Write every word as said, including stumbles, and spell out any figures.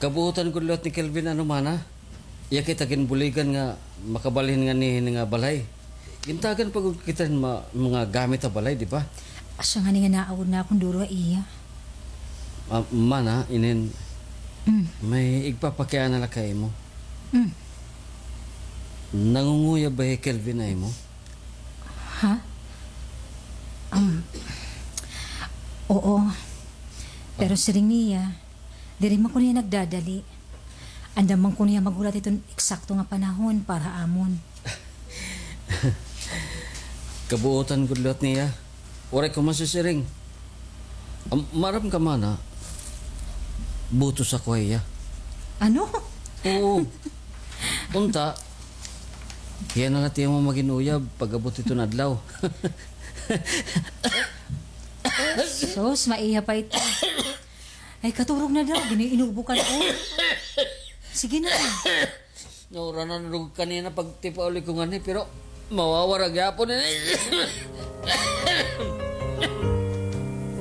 Kabuotan gud liwat ni Kelvin, ano, mana? Iya kita ginbuligan nga makabalhin nganhi hini nga balay. Gintagan pa gud kita hin ma-, mga gamit ha balay, di ba? Asya ngani nga naawod na akon duro ha iya. Ah, mana, inin, Mm. may igpapakiana la ha imo. Mm. Nangunguyab ba hi Kelvin ha imo? Ha? Um, oo. Pero siring niya, diri man kuno hiya nagdadali. Andam man kuno hiya maghulat hiton eksakto nga panahon para ha amon. Kabuotan gud liwat niya. Waray ko masisiring. Am-, maaram ka, mana, butos ako ha iya. Ano? Oo. Unta, hiya na la it imo magin uyab pag-abot hiton adlaw. Sus, maiha pa ito. Ay, katurog na daw, gini-, inubo ka na, oh. Sige na. Nauranan rog kanina pagtipauli ko ngani, pero mawawara gyapon ini.